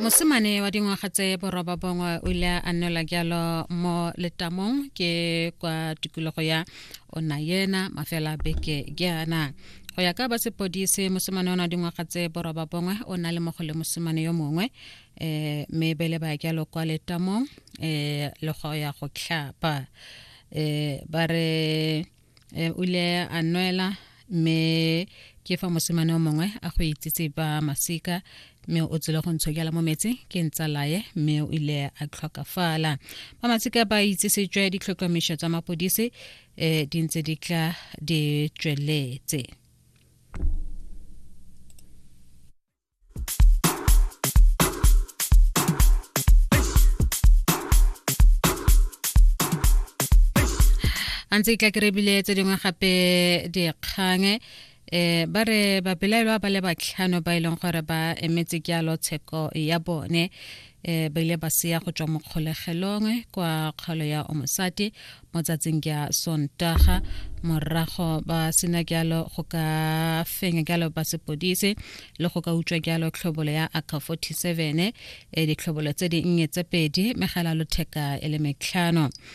Mosimane wa dingwaga tse boroba bongwe o ile a nnela jalo mo letamong ke kwa tikologo ya Onayena mafela beke jaana. Go ya ka ba sepodisi, mosimane o na dingwaga tse boroba bongwe o na le mogo le mosimane yo mongwe um mme bele ba jalo kwa letamong um le go ya go tlhapa. Um ba re o ile a nwela mme ke fa mosimane o mongwe a go itsitse ba masika mme o tsile go ntshokela mo metsi ke ntsalaye mme o ile a tlhokafala. Ba masika ba itsisitswe ditlhotlhomišo tsa mapodisi um di ntse di tla di tsweletse. A ntse tla kerebile tse dingwe gape dikgang ba re babelaelwa ba le batlhano ba e leng gore ba emetse jalo tsheko ya bone ba ile ba seya go tswa mo kgolegelong kwa kgaolo ya Omosati mo tsatsing ya Sontaga morago ba sena jalo go ka fenya jalo ba sepodisi le go ka utswa jalo tlhobolo ya AK47, ditlhobolo tse dinnye tse pedi, megala lotheka e le metlhano.